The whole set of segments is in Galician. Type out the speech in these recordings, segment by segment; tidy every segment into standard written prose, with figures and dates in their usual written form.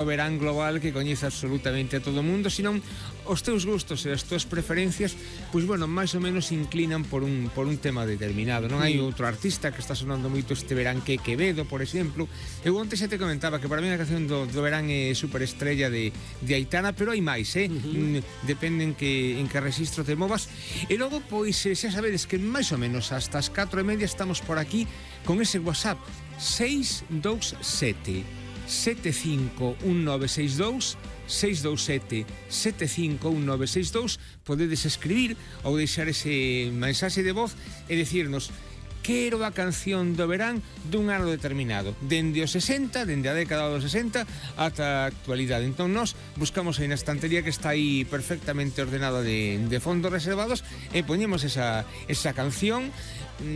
o verán global que coñece absolutamente a todo o mundo, senón os teus gustos e as túas preferencias, pois bueno, máis ou menos inclinan por un tema determinado. Non hai outro artista que está sonando moito este verán que Quevedo, por exemplo. Eu onte xa te comentaba que para mí a canción do verán é superestrella de Aitana, pero hai máis, depende en que registro te movas. E logo, pois, xa sabedes que máis ou menos hasta as 4:30 estamos por aquí con ese WhatsApp 627 751962 627 751962. Podedes escribir ou deixar ese mensaxe de voz e decirnos: quero a canción do verán dun ano determinado, dende os 60, dende a década dos 60 ata a actualidade. Entón nós buscamos aí na estantería que está aí perfectamente ordenada de fondos reservados e poñemos esa canción.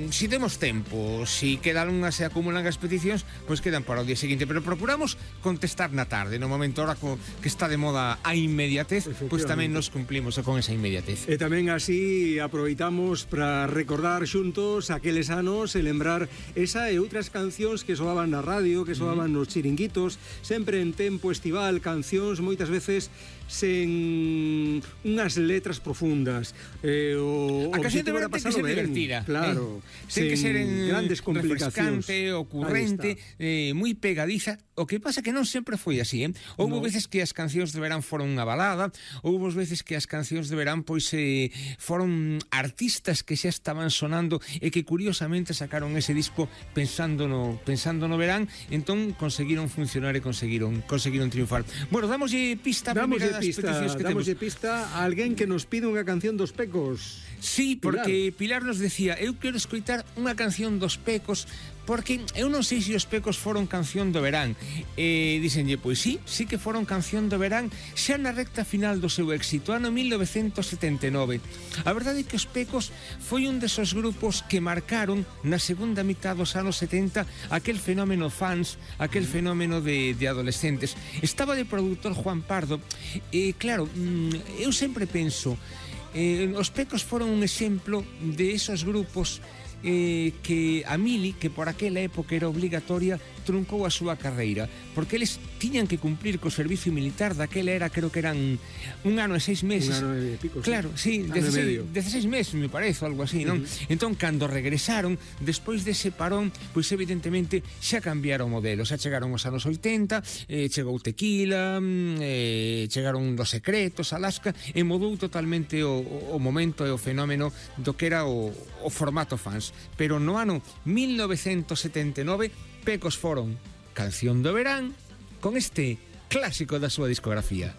Si temos tempo, si quedan unhas e acumulan as peticións, pois quedan para o día seguinte, pero procuramos contestar na tarde, no momento ahora que está de moda a inmediatez, pois tamén nos cumplimos con esa inmediatez. E tamén así aproveitamos para recordar xuntos aqueles anos e lembrar esa e outras cancións que soaban na radio, que soaban nos chiringuitos, sempre en tempo estival, cancións moitas veces sen unhas letras profundas. A canción de verán ten que ser divertida, claro. Ten que ser grandes complicacións, refrescante, ocurrente, moi pegadiza. O que pasa que non sempre foi así, Houbo veces que as cancións de verán foron unha balada, houbo veces que as cancións de verán pois foron artistas que xa estaban sonando e que curiosamente sacaron ese disco pensando no verán, entón conseguiron funcionar e conseguiron triunfar. Bueno, damoslle pista a primeira das peticións que temos. Damoslle pista a alguén que nos pide unha canción dos Pecos. Sí, porque Pilar nos decía: eu quero escoitar unha canción dos Pecos, porque eu non sei se os Pecos foron canción do verán. Díxenlle, pois sí que foron canción do verán xa na recta final do seu éxito, ano 1979. A verdade é que os Pecos foi un desos grupos que marcaron na segunda mitad dos anos 70 aquel fenómeno fans, aquel fenómeno de adolescentes. Estaba de produtor Juan Pardo e claro, eu sempre penso, os Pecos foron un exemplo de esos grupos que a Mili, que por aquela época era obligatoria, truncou a súa carreira, porque eles tiñan que cumplir co servicio militar daquela era, creo que eran un ano e 6 meses. Un ano e pico, claro, sí, 16 meses, me parece, algo así, non? Entón, cando regresaron, despois dese parón, pois evidentemente xa cambiaron o modelo, xa chegaron os anos 80, chegou Tequila, chegaron Los Secretos, Alaska, e mudou totalmente o momento e o fenómeno do que era o formato fans. Pero no ano 1979 Pecos foron canción do verán con este clásico da súa discografía.